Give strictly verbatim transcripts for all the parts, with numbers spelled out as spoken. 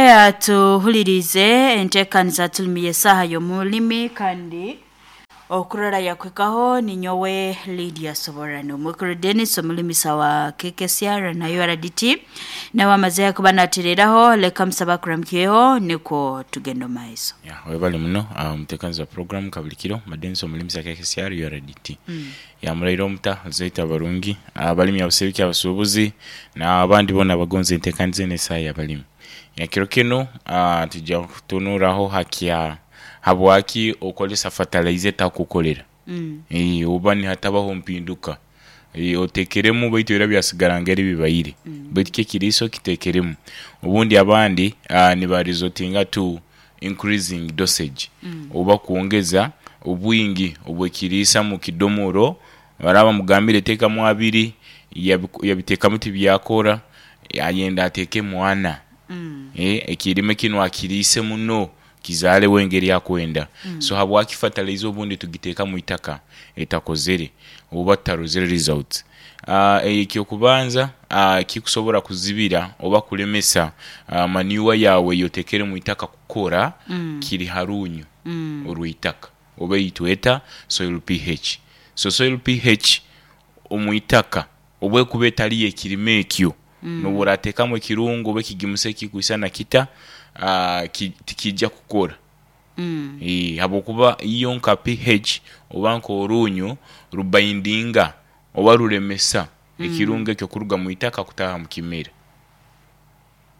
Atuhulirize enteekaniza tulimu y'esaaha y'omulimi, kandi okurora yakwekaho ninyowe Lydia Soborano Omwekuru Dennis, omulimisa wa K K C R na U R D T, nawe amaze kuba natereraho. Leka musaba kuramukyeho nikwo tugenda omu maiso. Yeah, webale muno uh, omuteekanizi wa program kabulikiro Madenisi, omulimisa K K C R U R D T. mm. Yamulaire omuta zaita abarungi, abalimi, abasibiki, abasuubuzi n'abandi boona abagonza enteekaniza eno esaaha y'abalimi. Ekiro kinu uh, tujja kutunuraho hakya habwaki okozesa fertilizer etakukolera mm. e, oba nihatabaho mpinduka e, otekeremu baitu era byasigara ngeri bibaire mm. Baitu ki ekiriisa okitekeremu, obundi abandi uh, niba resortinga to increasing dosage mm. oba kwongeza obwingi obw'ekiriisa mu kidomoro. Baraba bamugambire teekamu abiri, yabiku- yabiteekamu tibyakora, ayenda ateekemu ana mm. e, ekirime kinu akiriise muno kizaalewo engeri akwenda mm. So habwaki fertilizer obundi tugiteeka mu itaka etakozere oba tutarozere results? uh, ekyokubanza uh, kikusobora kuzibira oba kulemesa uh, manure yawe yotekere mu itaka kukora mm. kiri harunyu mm. orw'itaka oba eitweta soil P H. So soil P H omu itaka obwekuba etali y'ekirime ekyo, mm. nobu orateekamu ekirungo oba ekigimusa ekikwisana kita, uh, ki, tikijja kukora mm. e, habwokuba iyo nka P H oba nk'orunyu rubaindinga oba rulemesa mm. ekirungo ekyo kuruga mu itaka kutaaha mu kimera.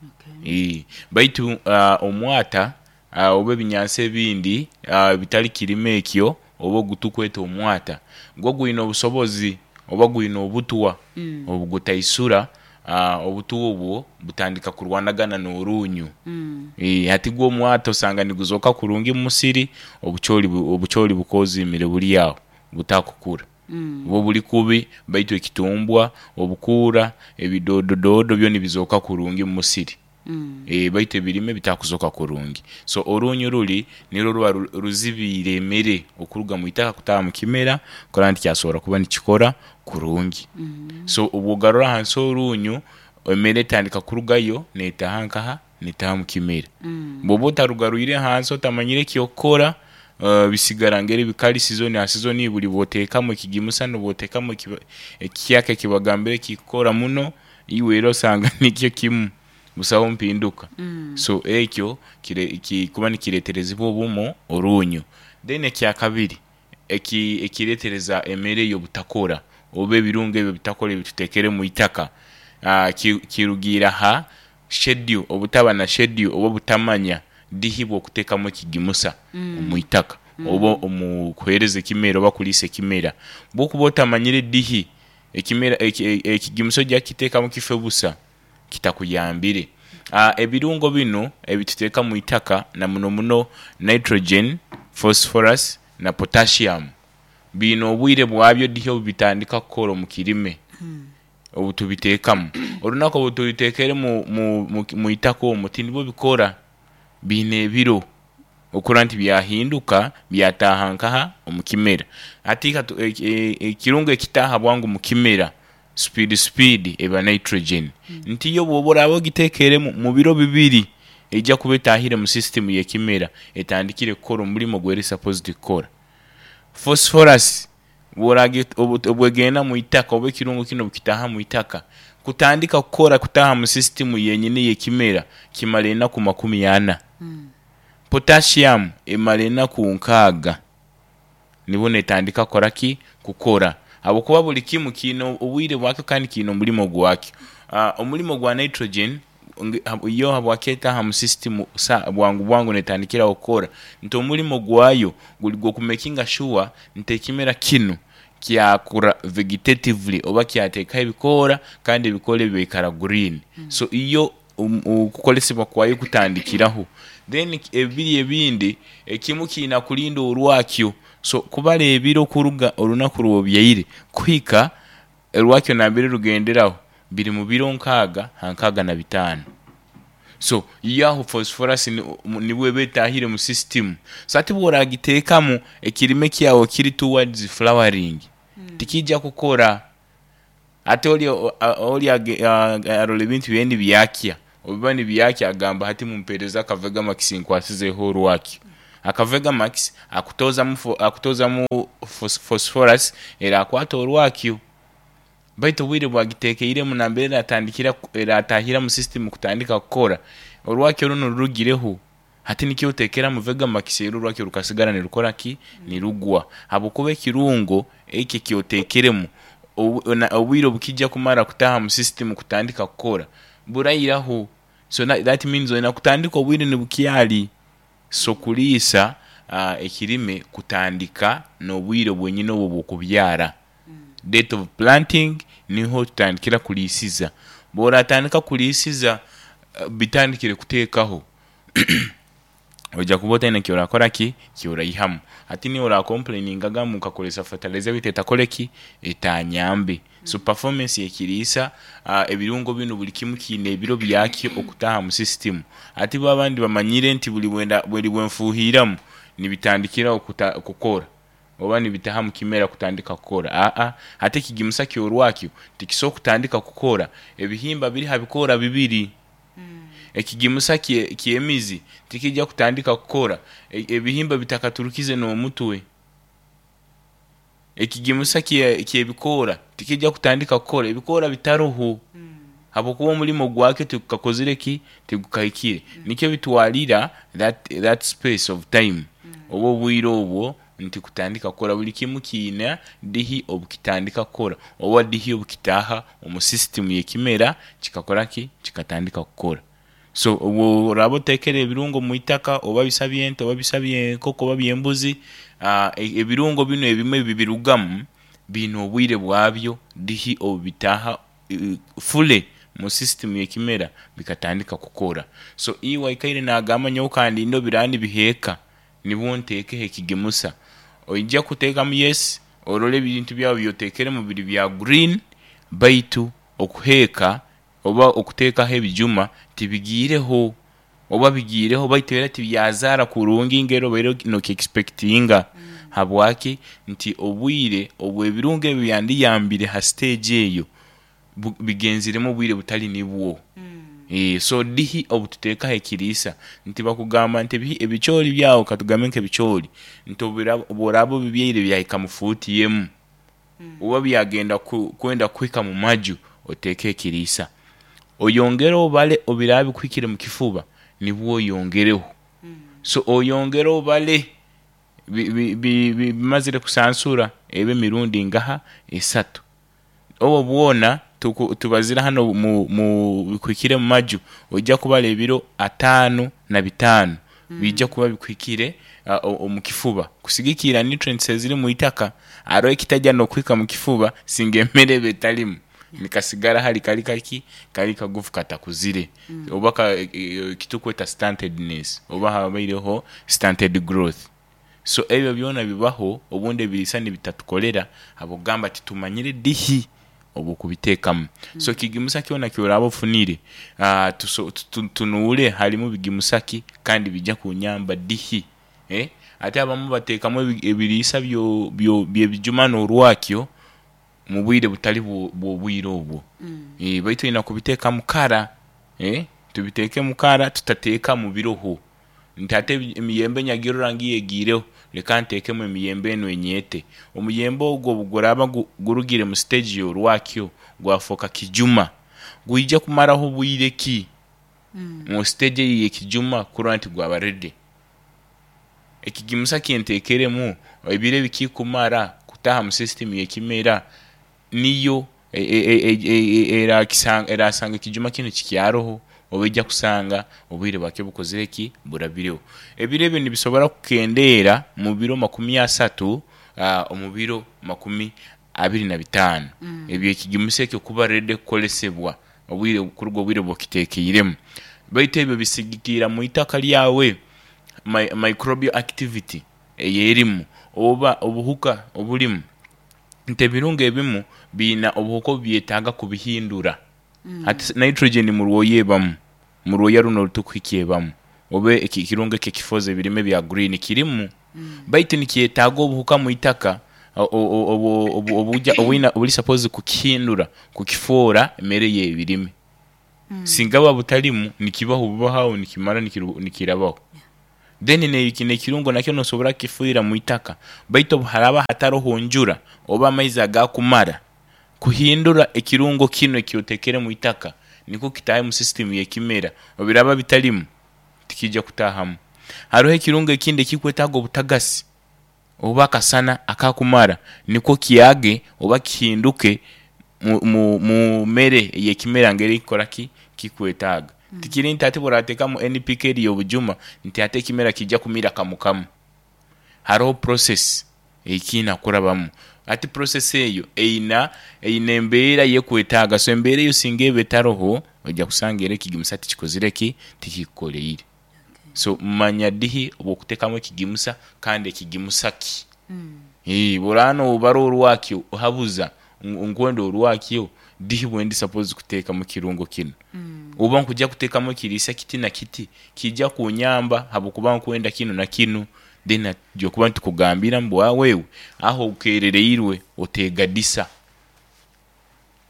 Okay. E, baitu uh, omwata uh, oba ebinyansi ebindi uh, bitali kirime ekyo oba ogutukweta omwata gwo gwine obusobozi oba gwine obutwa mm. obugutaisura uh, obutwa obwo butandika kurwanagana n'orunyu. mm. E, hati gwo omwata osanga niguzooka kurungi mu musiri, obucoori bu- obucoori bukozimire buri aho butakukura mm. buba buri kubi, baitu ekitumbwa, obukuura, ebidodododo byo nibizooka kurungi mu musiri. mm. e, baitu ebirime bitakuzoka kurungi. So orunyu ruri nirwo ruba ru- ruzibiire emere okuruga mu itaka kutaaha mu kimera kurora nti kyasobora kuba nikikora kurungi. mm. So obwogarura ahansi orunyu, emere etandika kurugayo neetaha nkaha? Neetaha mu kimera. mm. Bwoba otarugarwire hansi, otamanyire ekyokukora, uh, bisigara ngeri bikali season ha season. Buli bwoteekamu ekigimusa nobwoteekamu ekiba- ekihyaka ekibagambire kikukora muno, iwe era osanga nikyo kimu, busaho mpinduka. mm. So ekyo kire- kikuba nikireterezibwa obumo orunyu. Then ekyakabiri eki ekiretereza emere eyo butakora oba ebirungo ebyo bitakora ebitutekere mu itaka, uh, ki- kirugiira ha schedule, obutaba na schedule oba obutamanya dihi bw'okuteekamu ekigimusa mm. omu itaka oba omu kuheereza ekimera oba kuliisa ekimera. Bwokuba otamanyire dihi ekimera eki- ekigimusa ojja kukiteekamu kife busa kitakuyambire. uh, ebirungo binu ebituteeka mu itaka, na muno muno nitrogen, phosphorus na potassium, biine obwire bwabyo dihi obu bitandika kukora omu kirime. mm. Obu tubiteekamu, olunaku obu tubitekere mu, mu, mu, mu itaka omwo tinibwo bikora. Biine ebiro okurora nti byahinduka byataaha nkaha? Omu kimera. Hati katu- eki- e- ekirungo ekitaaha bwangu mu kimera speed speed eba nitrogen. Nti yo bwoba oraaba ogitekeremu, mu biro bibiri ejja kuba etaahire mu system y'ekimera, etandikire kukora omulimo gweri supposed kukora. Phosphorus bworagi obu- obwegenda mu itaka oba ekirungo kinu obukitaaha mu itaka, kutandika kukora, kutaaha mu system yenyini y'ekimera, kimara enaku makumi ana. mm. Potassium emara enaku nkaaga nibwo netandika kukora ki? Kukora, habwokuba buli kimu kiine obwire bwakyo kandi kiine omulimo gwakyo. uh, omulimo gwa nitrogen nge- hab- yo habwaki etaaha mu system sa bwangu bwangu, netandikiraho kukora, nti omulimo gwayo guli gw'okumakinga sure nti ekimera kinu kyakura vegetatively oba kyateekaho ebikoora, kandi ebikoora ebyo biikara green. So iyo um- okukolesebwa kwayo kutandikiraho. Then ebiri ebindi, ekimu kiina kulinda orwakyo. So kubara ebiro kuruga orunaku rwobyaire kuhika orwakyo nambere rugenderaho biri mu biro nkaaga ha nkaaga na bitaano. So yo aho phosphorus ni- mu- nibwo eba etaahire mu system. So ati bworagiteekamu ekirime kyawe kiri towards flowering, tikijja kukora. Ate oli oli age- a- arora ebintu byawe nibyakya. Obiba nibyakya agamba hati mumpereze akavegamax nkwasizeho orwakyo. Akavegamax akutozamu fo- akutozamu phos- phosphorus erakwata orwakyo. Baitu obwire bwagitekeiremu nambere eratandikira eratahira mu system kutandika kukora orwakyo runo rurugireho. Hati nikyo otekeramu vegamax era orwakyo rukasigara nirukora ki? Nirugwa. Habwokuba ekirungo eki ekyotekeremu obu- na- obwire obukijja kumara kutaha mu system kutandika kukora burairaho. So that, that means olina kutandika obwire nibukyali. So kuliisa uh, ekirime kutandika n'obwire bwenyine obwo bw'okubyara. Date of planting niho tutandikira kuliisiza. Bw'oratandika kuliisiza uh, bitandikire kuteekaho ojja kuba otaine kyorakora ki kyoraihamu. Hati niwe orakomplaininga agamba nkakozesa fertilizer beitu etakore ki etanyambe. So performance y'ekiriisa uh, ebirungo binu buli kimu kiine ebiro byakyo okutaha mu system. Hati bo abandi bamanyire nti buli bwenda buli bwenfuuhiramu nibitandikiraho kuta, kukora oba nibitaha mu kimera kutandika kukora. Aa hati ekigimusa kyorwakyo tikisobola kutandika kukora ebihimba biri ha bikoora bibiri. Ekigimusa kye- ky'emizi tikijja kutandika kukora e- ebihimba bitakaturukize n'omutwe. Ekigimusa kye- ky'ebikoora tikijja kutandika kukora ebikoora bitaroho, habwokuba omulimo gwakyo tigukakozire ki tigukahikire. Nikyo bitwalira that, that space of time oba obwire obwo nti kutandika kukora. Buli kimu kiina dihi obukitandika kukora oba dihi obukitaaha omu system y'ekimera kikakora ki kikatandika kukora. So obwo oraba otekere ebirungo mu itaka oba bisa by'ente oba bisa by'enkoko oba by'embuzi, uh, ebirungo binu ebimwe bibirugamu biine obwire bwabyo dihi obubitaaha uh, fule mu system y'ekimera bikatandika kukora. So iwe aikaire nagamba nyowe kandinde obiraba nibiheeka nibwo nteekeho ekigimusa. Oija kuteekamu, yes, orole ebintu byawe byotekeremu biri bya green, baitu okuheeka oba okuteekaho ebijuma tibigiireho oba bigiireho baitu era tibyazaara kurungi ngeri obaire nokiexpectinga. Habwaki? Nti obwire obw'ebirungo ebyo byandiyambire ha stage eyo bu- bigenziremu obwire butali nibwo. E, so dihi obututeekaho ekiriisa nti bakugamba nti ebihi- ebicoori byawe, katugambe nk'ebicoori, nti obira- obworaba obibyaire byahika mu fuuti emu oba byagenda ku, kwenda kuhika mu maju, oteeke ekiriisa oyongere obale obiraba bikuhikire mu kifuba nibwo oyongereho. So oyongere obale bi- bi- bi- bi- bimazire kusansura ebe emirundi ngaha esatu. Obwo bwona tuku- tubazire hano mu, mu bikuhikire mu maju, ojja kubara ebiro ataano na bitaano bijja kuba bikuhikire uh, o- omu kifuba kusigikira nutrients eziri mu itaka. Hariho ekitajya n'okuhika mu kifuba singa emmere eba etalimu nikasigara hali kali kaki kali kagufu katakuzire oba ka, e, e, kitukweta stuntedness oba habaireho stunted growth. So ebyo byona bibaho obundi ebiriisa nibitatukorera habwokugamba titumanyire dihi obwokubiteekamu. So kigimusa kyona kyoraba ofunire, uh, tuso, tu- tunuure harimu bigimusa ki kandi bijja kunyamba dihi, eh? Ate abamu bateekamu ebi- ebiriisa byo- byo- by'ebijuma n'orwakyo mu bwire butali bwo- bw'obwire obwo. Eh, baitu olina kubiteeka mukara, eh? Tubiteeke mukara tutateeka mu biroho nti ate ebi- emiyembe nyagirora ngiyo egiireho leka nteekemu emiyembe enu enyeete. Omuyembe ogwo obuguraba gu- gurugire mu stage y'orwakyo gwafooka kijuma, gwija kumaraho bwire ki mu stage eyo y'ekijuma kurora nti gwaba ready? Ekigimusa kyentekeremu ebiro ebikikumara kutaha mu system y'ekimera niyo e- e- e- e- e- erakisanga erasanga ekijuma kinu kikyaroho oba ejja kusanga obwire bwakyo bukozire ki burabireho. Ebiro ebyo nibisobora kukendeera mu biro makumi asatu, uh, omu biro makumi abiri na bitaano ebyo ekigimusa ekyo kuba ready kukolesebwa obwire kuruga obwire bwokitekeiremu. Baitu ebyo bisigikira mu itaka lyawe, mi- microbial activity eyerimu oba obuhuka obulimu, nti ebirungo ebimu biina obuhuka obubyetaaga kubihindura. Hati nitrogen mu rwoya ebamu, mu rwoya runo orutukuhikya ebamu oba eki- ekirungo eki ekifoza ebirime bya green kirimu, baitu nikyetaaga obuhuka mu itaka o- o- obu- obu- obuja obwina obuli supposed kukihindura kukifoora emmere y'ebirime. Singa buba butarimu, nikibaho bubaho nikimara nikiru- nikirabaho. Then ne- nekirungo nakyo nosobora kukifuhira mu itaka, baitu obu haraba hataroho njura oba amaizi agakumara kuhindura ekirungo kinu ekyotekere mu itaka nikwo kitaahe mu system y'ekimera, obiraba bitarimu tikijja kutahamu. Haroho ekirungo ekindi ekikwetaaga obutagasi oba akasana akakumara nikwo kyage oba kihinduke mu, mu, mu mere ey'ekimera ngeri ekukora ki kikwetaaga. Tikiri nti ati bw'orateekamu N P K eri y'obujuma nti ate ekimera kijja kumira kamu kamu. Haroho process ekiina kurabamu. Ati process eyo eina eina embeera y'ekwetaaga, so embeera eyo singa eba etaroho ojja kusanga era ekigimusa tikikozire ki tikikukoleire. So manya dihi obw'okuteekamu ekigimusa kandi ekigimusa ki. Ee, bw'oraba noobara orwakyo ohabuza ngu nkwenda orwakyo dihi bwendi suppose kuteekamu ekirungo kinu, oba nkujja kuteekamu ekiriisa kiti na kiti kijja kunyamba habwokuba nkwenda kinu na kinu, then tujja kuba nitukugambira ngu wewe aho okerereirwe oteegadisa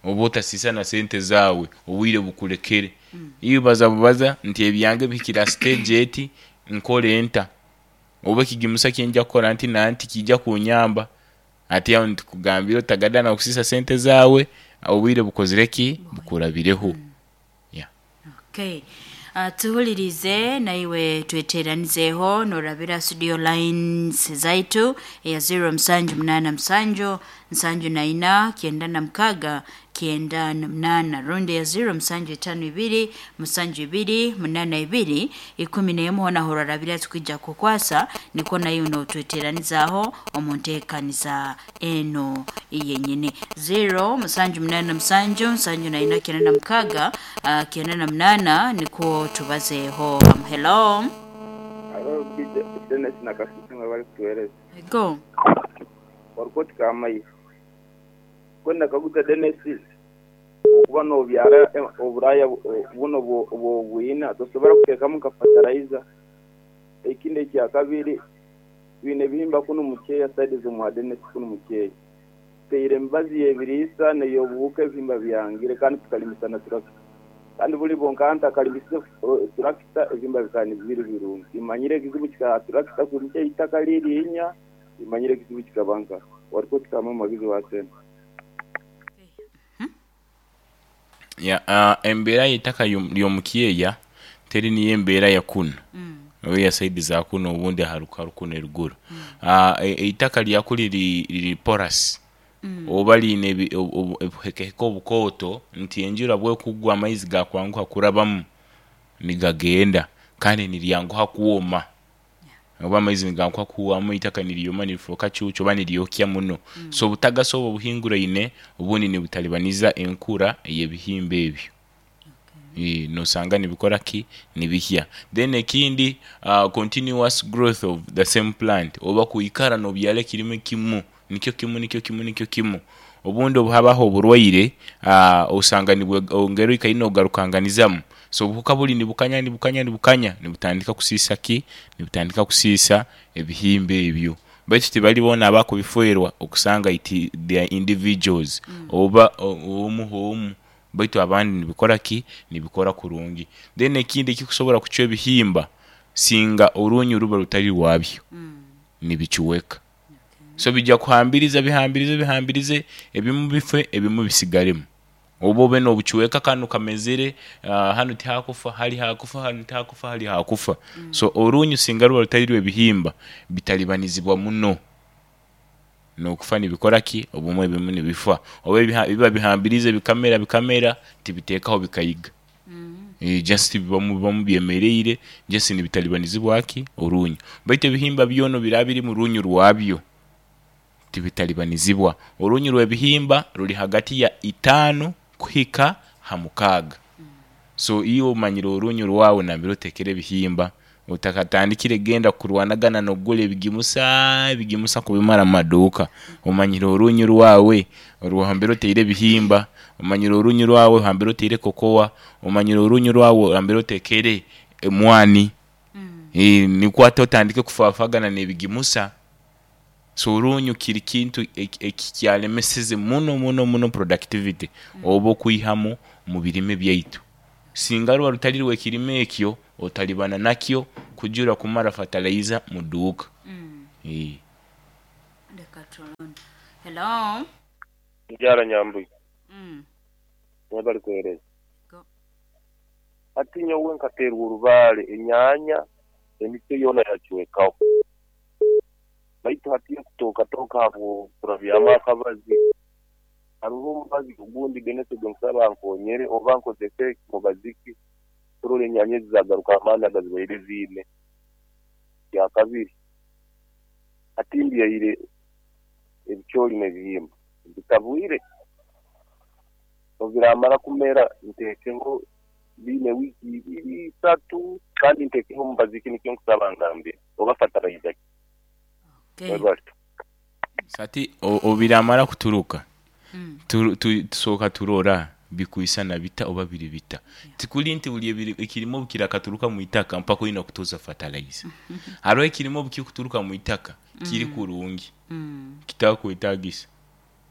oba otasiisa na sente zaawe, obwire bukulekere. Iwe baza bubaza nti ebyange bihikire ha stage eti nkore nta, oba ekigimusa kyenjja kukora nti nanti kijja kunyamba. Ati aho nitukugambira otagadana kusiisa sente zaawe, obwire bukozire ki bukurabireho. Yeah. Okay. Uh, tuhulirize naiwe tweteranizeho norabira studio lines zaitu eya zero musanju munana musanju nsanju na ina kyenda na mukaga kyenda na munana, rundi ya zero musanju etano ibiri musanju ibiri munana ibiri ikumi n'emu. Hona horarabira tukwija kukwasa niko nayo notweteranizaho omu nteekaniza eno yenyini zero musanju munana musanju nsanju na ina kyenda na mukaga uh, kyenda na munana niko tubazeho. um, hello Haro Dennis na Kasisi mwe bari kutuhereza. Go. Warukoti kamayi kwenda kaguza Dennis okuba nobyara eh, oburaya bu- eh, buno bwo- bwobwina tosobora kuteekamu nka fertilizer. Ekindi ekya kabiri, bine ebihimba kunu mukeya side z'omwa Dennis kunu mukeya teire emibazi y'ebiriisa neyobuhuka, ebihimba byangire kandi tukalimisa na turakita, kandi buli bonka ntakalimisa eh, turakita ebihimba bikaba nibiri birungi. Imanyire ekizibu kika turakita kurimukya itaka liriinya, imanyire ekizibu kikaba nka warikoti kama magizi wa sente. Ya, uh, embeera y'eitaka y'omu- ry'omukyeya teri niyo embeera ya kunu oba ya side za kuno, obundi aharuka kuno eruguru. uh, eitaka lyaku liri liri porous oba liine ebi- obu- obu- obuhekeheke obukooto nti enjura bwekugwa amaizi gakwanguha kurabamu nigagenda, kandi niryanguha kwoma oba amaizi niganguha kuhwamu, eitaka niryoma nirifuuka cuucu oba niryokya muno. So obutagasi obwo obuhinguraine obundi nibutalibaniza enkura ey'ebihimba ebyo. Eh, nosanga nibikora ki nibihya. Then ekindi, uh, continuous growth of the same plant oba kwikara nobyara ekirime kimu nikyo kimu nikyo kimu nikyo kimu, obundi obu habaho oburwaire uh, osanga nibwe ongera oikaire nogarukanganizamu, so obuhuka buri nibukanya nibukanya nibukanya nibutandika kusiisa ki nibutandika kusiisa ebihimba ebyo. Baitu tibali boona abakubifwerwa, okusanga iti they are individuals oba o- omu omu, baitu abandi nibikora ki nibikora kurungi. Then ekindi ekikusobora kucwa ebihimba, singa orunyu ruba rutari rwabyo nibicuweka, so bijja kuhambiriza bihambirize bihambirize, ebimu bife ebimu bisigaremu, oba obe nobucuweka kanu kamezere uh, hanu tihakufa, hali hakufa, hanu tihakufa, hali hakufa. So orunyu singa ruba rutari rw'ebihimba bitalibanizibwa muno nokufa nibikora ki obumwe ebimu nibifa oba ebiha- biba bihambirize bikamera bikamera tibiteekaho bikayiga. Eh, just bibamu bibamu byemereire, just nibitalibanizibwa ki orunyu. Baitu ebihimba byona biraba biri mu runyu rwabyo tibitalibanizibwa. Orunyu rw'ebihimba ruri hagati ya itaano kuhika ha mukaaga. So iwe omanyire orunyu rwawe nambere otekere ebihimba, otakatandikire genda kurwanagana nokugura ebigimusa ebigimusa kubimara mu maduuka. Omanyire orunyu rwawe orwambere oteire ebihimba, omanyire orunyu rwawe hambere oteire kokowa, omanyire orunyu rwawe hambere otekere emwani. Eh, nikwo ate otandike kufaafagana n'ebigimusa. So orunyu kiri kintu eki- ekikyalemeseze muno muno muno productivity oba okwihamu mu birime byaitu. Singa ruba rutari rw'ekirimo ekyo, otalibana nakyo kujura kumara fertilizer mu duuka. Mm. Eh. Leka tulonde. Hello. Njara Nyambuye Mm. mwebali kuhereza. Go. Ati nyowe nkaterwa orubaare enyanya emiti yoona yacwekaho, baitu hati kutokatoka habwo turabyamu akabazi. Hariho omubazi ogundi Dennis ogwo nkusaba nkonyere oba nkozese mubazi ki turore enyanya ezi zagaruka amaani agazibaire ziine. Kyakabiri, hati mbyaire ebicoori n'ebihimba bitabwire, obiramara kumera ntekeho biine wiiki ibiri isatu, kandi ntekeho omubazi ki, nikyo nkusaba ngambire oba fertilizer ki. Okay. Mwebale. Sati o- obiramara kuturuka, Mm. tu- tu- tusooka turora bikwisana bita oba biri bita. Tikuli nti buli ebiri- ekirimo kirakaturuka mu itaka mpaka oyina kutoza fertilizer. Hariho ekirimo bukikuturuka mu itaka kiri kurungi, Mm. kitakwetagisa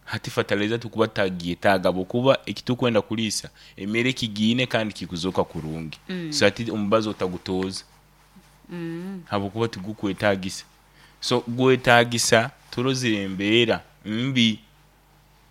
hati fertilizer tukuba tagyetaaga bwokuba ekitukwenda kuliisa emere kigiine kandi kikuzoka kurungi. Mm. So hati omubazi otagutoza Mm. habwokuba tigukwetagisa. So gwetagisa turozire embeera mbi,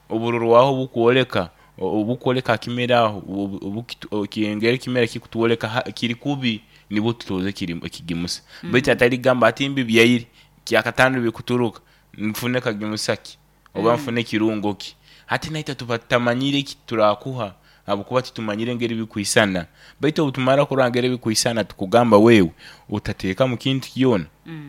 oburorwaho bukwoleka obukwoleka akimera aho obu- obukitu- okiyengera ekimera kikutwoleka ha- kiri kubi, nibwo tutoze ekirimu- ekigimusa. Baitu atari gamba ati mbi byaire kyakatano bikuturuka nfune kagimusa ki oba nfune ekirungo ki. Hati naitwe tuba tutamanyire eki turakuha habwokuba titumanyire engeri bikwisana. Baitu obutumara kurora engeri bikwisana, tukugamba wewe utateeka mu kintu kyona,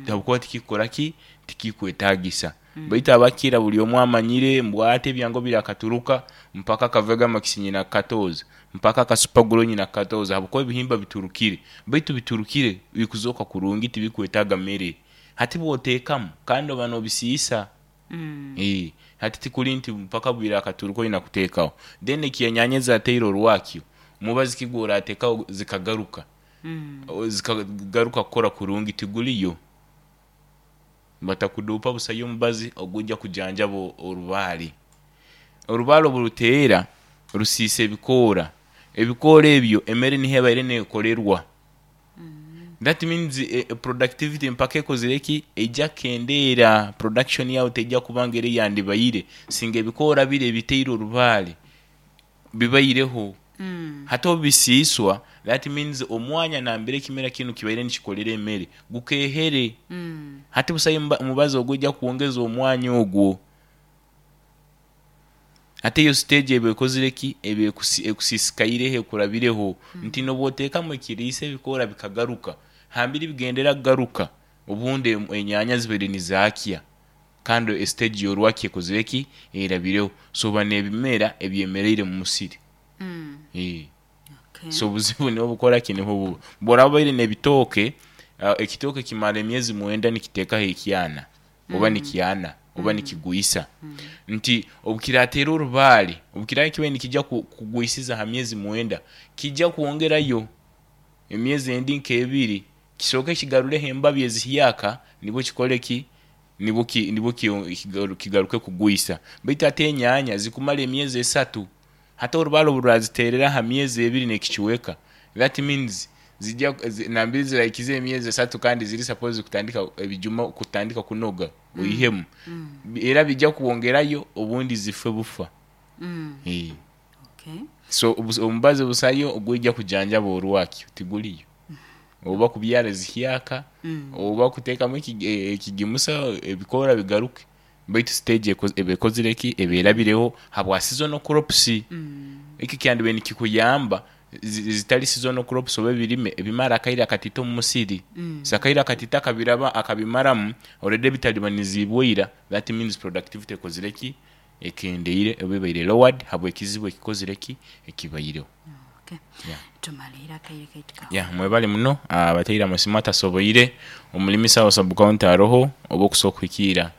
habwokuba tikikukora ki, tikikwetagisa. Baitu abakira buli omwe amanyire mbwate ebyango birakaturuka mpaka akavega makisi nyina katoza mpaka akasupaguro nyina katoza, habwokuba ebihimba biturukire. Baitu biturukire bikuzoka kurungi, tibikwetaaga mere. Hati bwoteekamu kandi oba nobisiisa. Mm. Eh, hati tikuli nti mpaka bwirakaturuka oyina kuteekaho. Then ekyenyanya ezateire orwakyo mubazi ki gworateekaho zikagaruka, Mm. O- zikagaruka kukora kurungi, tiguliyo. Batakuduupa busayo omubazi ogujja kujanjaba o- orubaare. Orubaare oburuteera rusiisa ebikoora, ebikoora ebyo emere niho ebaire neekorerwa. That means eh, productivity mpaka ekozire ki, ejja kendeera, production yawe tejja kuba ngeri yandibaire singa ebikoora biri ebiteire orubaare bibaireho. Mm. Hati obisiiswa, that means omwanya nambere ekimera kinu kibaire nikikolera emere gukehere. Mm. Hati busayo omuba- omubazi ogujja kwongeza omwanya ogwo. Hati eyo stage eba ekozire ki, eba ekusi- ekusiisikaireho ekurabireho, nti nobwoteekamu ekiriisa ebikoora bikagaruka hambiri bigendera kugaruka, obundi em- enyanya zibaire nizaakya kandi estage yorwaki ekozire ki, erabireho. So oba n'ebimera ebyemereire mu musiri. Mm. Eh. Okay. So obuzibu niho bukora ki, niho buba bworaba obaire n'ebitooke, uh, ekitooke kimara emyezi mwenda nikiteekaho ekyana oba nikyana oba nikigwisa. Nti obukirateera orubaare, obukirabe kibaire nikijja ku- kugwisiza ha myezi mwenda, kijja kwongerayo emyezi endi nk'ebiri kisooke kigarureho embabi ezihyaka, nibwo kikore ki, nibwo ki- nibwo ki- kigaru- kigaruke kugwisa. Baitu ate enyanya zikumara emyezi esatu, hati orubaare oburaziteerera ha myezi ebiri nekikiweka, that means zijja zi- nambiri zirahikiza emyezi esatu kandi ziri suppose kutandika ebijuma kutandika kunoga oihemu, era bijja kwongerayo obundi zife bufa. Mm. Eh. Okay. So obus- omubazi busayo ogwijja kujanjaba orwakyo tiguliyo, oba kubyara zihyaka, Mm. oba kuteekamu eki- e- ekigimusa ebikoora bigaruke. Baitu stage eko- eba ekozire ki, eba erabireho habwa seasonal crops. Mm. Eki kyandibaire nikikuyamba zi- zitari seasonal crops oba ebirime ebimara akaire akatito omu musiri. Mm. So akaire akatito akabiraba akabimaramu already bitalibanizibwe ira, that means productivity ekozire ki, ekendeire oba ebaire lowered habw'ekizibu ekikozire ki, ekibaireho. Okay. Yeah. Tumalire akaire kaitu kawe. Ya mwebale muno abateire amasimu atasoboire omulimisa wa sub county aroho oba okusobola kuhikiira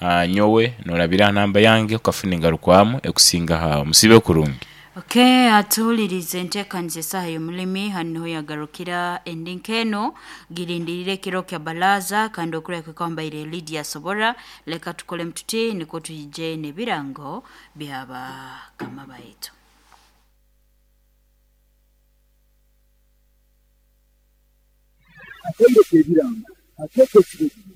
ah, nyowe norabira namba yange okafuna engarukwamu ekusinga hawo musibe kurungi. Okay, atuwuliriza enteekaniza esaaha y'omulimi hano niho yagarukira endi nk'eno girindirire ekiro kya balaza kandi okureka kwambaire Lydia Sobora. Leka tukole mtuti niko tuyije n'ebirango byabakama baitu. Akaire k'ebirango akeekesire.